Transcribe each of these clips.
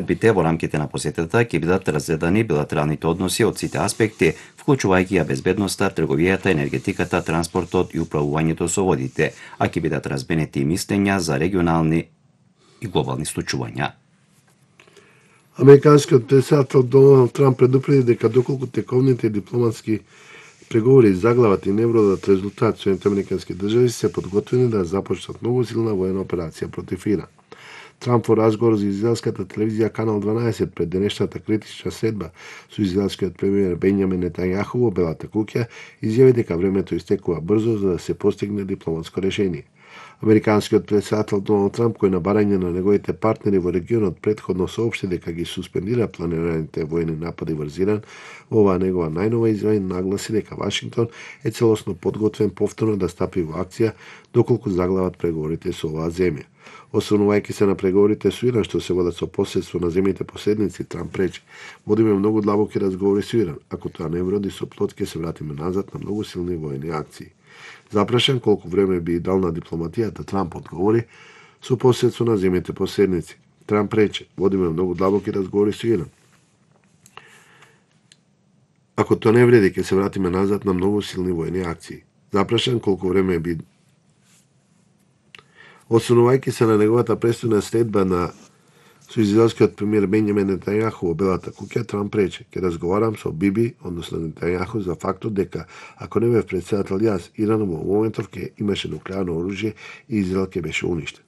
Бите во рамките на посетата ќе бидат разгледани билатералните односи од сите аспекти, вклучувајќи ја безбедноста, трговијата, енергетиката, транспортот и управувањето со водите, а ќе бидат разменети и мислења за регионални и глобални случувања. Американскиот претседател Доналд Трамп предупреди дека доколку тековните дипломатски преговори заглават и не бродат резултат, Соединетите американски држави се подготвени да започнат многу силна воена операција против Иран. Трамп во разговор за израелската телевизија Канал 12 пред денешната критична следба со израелскиот премиер Бенјамин Нетањаху во Белата куќа изјави дека времето истекува брзо за да се постигне дипломатско решение. Американскиот претседател Доналд Трамп, кој на барање на неговите партнери во регионот претходно соопшти дека ги суспендира планираните воени напади врз Иран, во оваа негова најнова изјава нагласи дека Вашингтон е целосно подготвен повторно да стапи во акција доколку заглават преговорите со оваа земја. Осврнувајќи се на преговорите со Иран што се водат со посредство на земјите посредници, Трамп рече: "Водиме многу длабоки разговори со Иран. Ако тоа не вроди со плод, ќе се вратиме назад на многу силни воени акции." Запрашан колку време би идална дипломатијата, Трамп одговори: "Со посредство на земјите посредници." Трамп рече: "Водиме многу длабоки разговори со Иран. Ако тоа не вреди, ќе се вратиме назад на многу силни воени акции." Запрашан колку време би Осврнувајќи се на неговата престојна следба со израелскиот премиер Бенјамин Нетањаху во Белата куќа, Трамп рече: "Ќе разговарам со Биби, односно Нетањаху, за фактот дека ако не бев претседател јас, Иран во моментов ќе имаше нуклеарно оружје и Израел ќе беше уништен."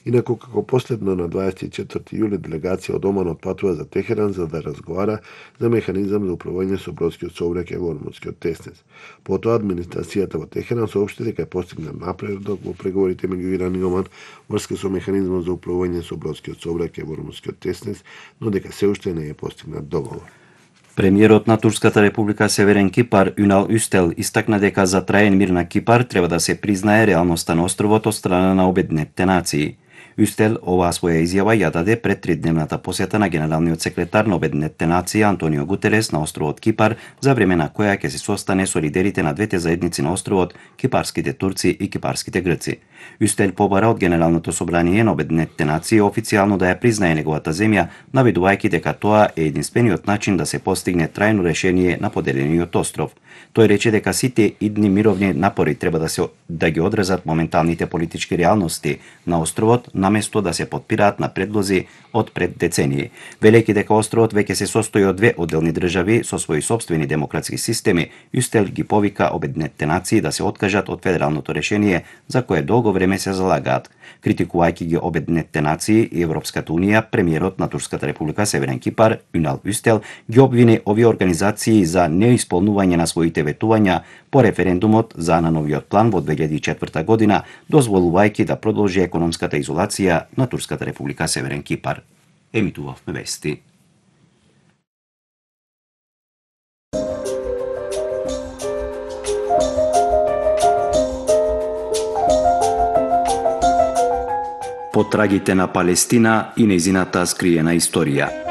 Инаку, како последно на 24 јули делегација од Оман отпатува за Техеран за да разговара за механизам за управување со бродскиот сообраќај во Ормудскиот теснец. Потоа администрацијата во Техеран соопшти дека е постигнат напредок во преговорите меѓу Иран и Оман врска со механизмот за управување со бродскиот сообраќај во Ормудскиот теснец, но дека се уште не е постигнат договор. Премиерот на Турската република Северен Кипар Юнал Устел истакна дека за траен мир на Кипар треба да се признае реалноста на островот од страна на Обединетите нации. Устел оваа своја изјава ја даде пред 3-дневната посета на генералниот секретар на Обединетите нации Антонио Гутерес на островот Кипар, за време на која ќе се состане со лидерите на двете заедници на островот, кипарските турци и кипарските грци. Устел побара од Генералното собрание на Обединетите нации официјално да ја признае неговата земја, наведувајќи дека тоа е единствениот начин да се постигне трајно решение на поделениот остров. Тој рече дека сите идни мировни напори треба да ги одразат моменталните политички реалности на островот, наместо да се подпираат на предлози од пред децении. Велејќи дека островот веќе се состои од две одделни држави со своји сопствени демократски системи, Устел ги повика Обединетите нации да се откажат од федералното решение за кое долго време се залагаат. Критикувајќи ги Обединетите нации и Европската унија, премиерот на Турската република Северен Кипар Юнал Устел ги обвини овие организации за неисполнување на своите ветувања по референдумот за најновиот план во 2004 година, дозволувајќи да продолжи економската изолација на Турската република Северен Кипар. Емитувавме вести. Потрагите на Палестина и нејзината скриена историја.